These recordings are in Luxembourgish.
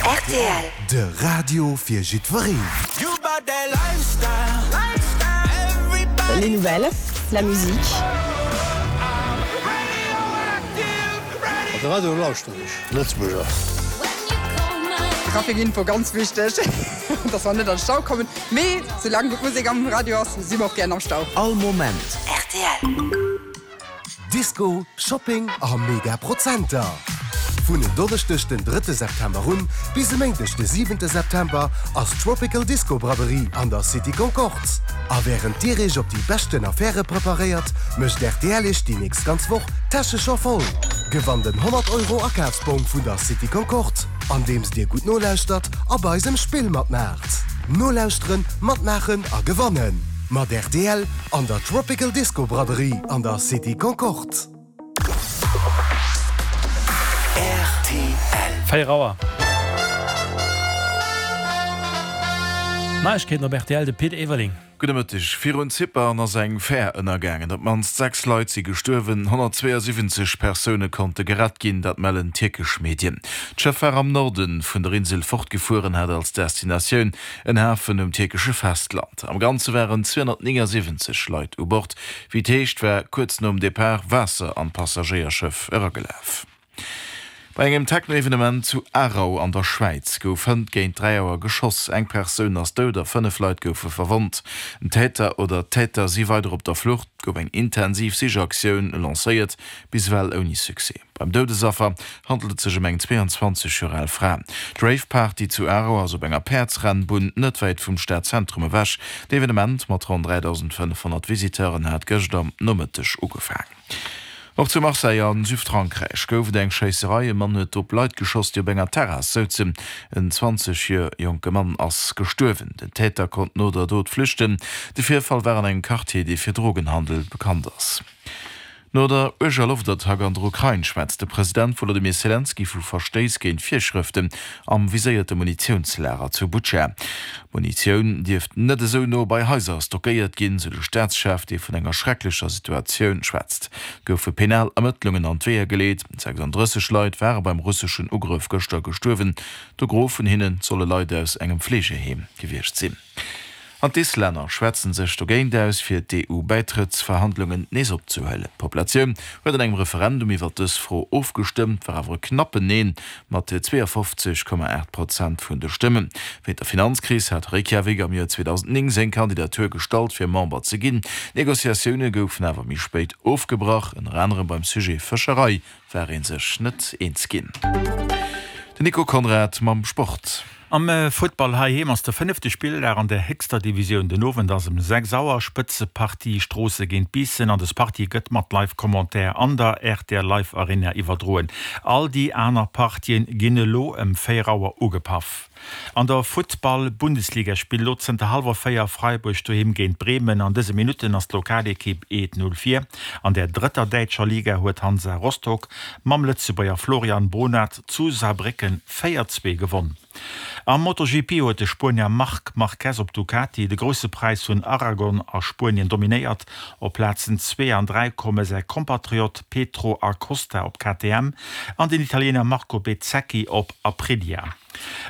Rtl. De Radio fir jiddwereen. Les nouvelles, la musique. De Radio lauschteren ech, Lëtzebuerger. Trafic Info, ganz wichteg, dass mer net an Stau kommen, mee soulaang gutt Musek am Radio ass, si mer och gären am Stau. All Moment. Rtl. Disco, Shopping a mega Prozenter! Vun en Donneschdeg den drëtte September un bis e Méindeg de siwente September ass Tropical Disco Braderie an der City Concorde. A wärend dir iech op déi beschten Affäre preparéiert, mécht rtl iech déi nächst ganz Woch d'Täsche scho voll! Gewannt en 100 Euro Akafsbong vun der City Concorde, andeems dir gutt nolauschtert a bei eisem Spill matmaacht. Nolauschteren, matmaachen a gewannen! Mat rtl an der Tropical Disco Braderie an der City Concorde. Rtl. 4 Auer. Neiegkeeten op rtl, de Pit Everling. Gudde Mëtteg. Virun Zypern ass eng Fär ënnergaangen. Op d'mannst 6 Leit si gestuerwen, 172 Persoune konnte gerett ginn, dat mellen tierkesch Medien. D'Schëff war am Norde vun der Insel fortgefuer an hat als Destinatioun en Hafen um tierkesche Festland. Am Ganze waren 279 Leit u Bord. Wéi et heescht, war kuerz nom Depart Waasser an d'Passagéierschëff eragelaf. Bei engem Techno-Evenement zu Aarau an der Schwäiz gouf hënt géint 3 Auer geschoss. Eng Persoun ass dout a 5 Leit goufe verwonnt. Den Täter oder d'Täter si weider op der Flucht. Et gouf eng intensiv Sichaktioun lancéiert, bis ewell ouni Succès. Beim Doudesaffer handelt et sech ëm eng 22 Joer al Fra. D'Rave-Party zu Aarau ass op enger Päerdsrennbunn net wäit vum Stadzentrum ewech. D'Evenement mat ronn 3.500 Visiteuren hat gëscht am Nomëtteg ugefaangen. Och zu Marseille a Südfrankräich gouf et eng Schéisserei. E Mann huet op Leit geschoss, déi op enger Terrass souzen. En 20 Joer jonke Mann ass gestuerwen. Den Täter konnt no der Dot flüchten. De Virfall war an engem Quartier, dee fir Drogenhandel bekannt ass. No der uerger Loftattack an der Ukrain schwätzt de President Wolodymyr Selenskyj vu Verstéiss géint Virschrëften am viséierte Munitiounslager zu Butscha. Munitioun dierft net esou no bei Haiser stockéiert ginn, sou de Staatschef, dee vun enger schrecklecher Situatioun schwätzt. Et goufe penal Ermëttlungen an d'Weeër geleet. 36 Leit ware beim russeschen Ugrëff gëschter gestuerwen. De Gros vun hinne solle Leit aus engem Fleegeheem gewiescht sinn. An d'Islänner schwätzen sech dogéint aus, fir d'EU-Bäitrëttsverhandlungen nees opzehuelen. D'Populatioun huet an engem Referendum iwwer dës Fro ofgestëmmt, war awer e knappen Neen mat 52,8 Prozent vun de Stëmmen. Wéint der Finanzkris hat Reykjavik am Joer 2009 seng Kandidatur gestallt, fir Member ze ginn. D'Negociatioune goufen awer méi spéit ofgebrach, ënner anerem beim Sujet Fëscherei war ee sech net eens ginn. Den Nico Conrad mam Sport. Am Futtball heiheem ass de fënnefte Spilldag an der héchster Divisioun. Den Owend ass ëm 6 Auer Spëtzepartie Stroosse géint Biissen an des Partie gëtt mat Live-Commentaire an der rtl Live Arena iwwerdroen. All déi aner Partien ginn elo ëm 4 Auer ugepaff. An der Futtball-Bundesliga spillt elo zënter hallwer 4 Freiburg doheem géint Bremen. An dëse Minutten ass d'Lokalekipp 1, 0 vir. An der drëtter däitscher Liga huet Hansa Rostock mam Lëtzebuerger Florian Bohnert zu Saarbrécken 4, 2 gewonn. Am MotoGP huet de Spuenier Marc Marquez op Ducati de Grousse Präis vun Aragon a Spuenien dominéiert. Op Plazen 2 an 3 komme säi Kompatriot Pedro Acosta op KTM an den Italiener Marco Bezzecchi op Aprilia.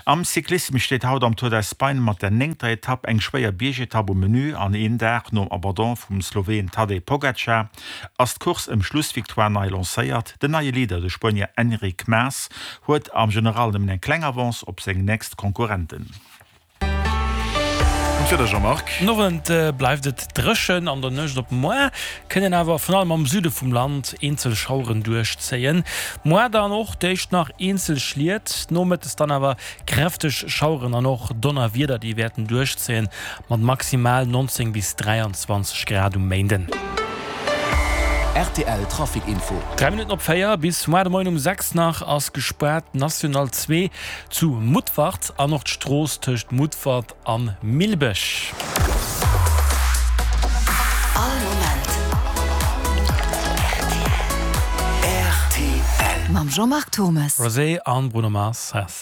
Am Cyclissem steet haut am Tour d'Espagne mat der néngter Etapp eng schwéier Biergetapp um Menü an een Dag nom Abandon vum Sloween Tadej Pogacar ass d'Course ëm Schlussvictoire nei lancéiert. Den neie Leader, de Spuenier Enric Mas, huet am General nëmmen eng kleng Avance op seng nächst Konkurrenten. An d'Wieder, Jean-Marc? Den Owend bleift et dréchen, an der Nuecht op moar kënnen awer virun allem am Süde vum Land eenzel Schaueren duerchzéien. Moar dann och d'éischt nach eenzel Schliet, nomëttes dann awer kräfteg Schaueren an och Donnerwieder, déi wäerten duerchzéien Mat maximal 19 bis 23 Grad um Méinden. Rtl Trafic Info. 3 Minutten op 4, bis muar de Moien um 6 nach ass gespaart d'National 2 zu Mutfert an och d'Strooss tëscht Mutfert a Millbech. All Moment rtl. Mam Jean-Marc Thommes. Rosé an Bruno Mars.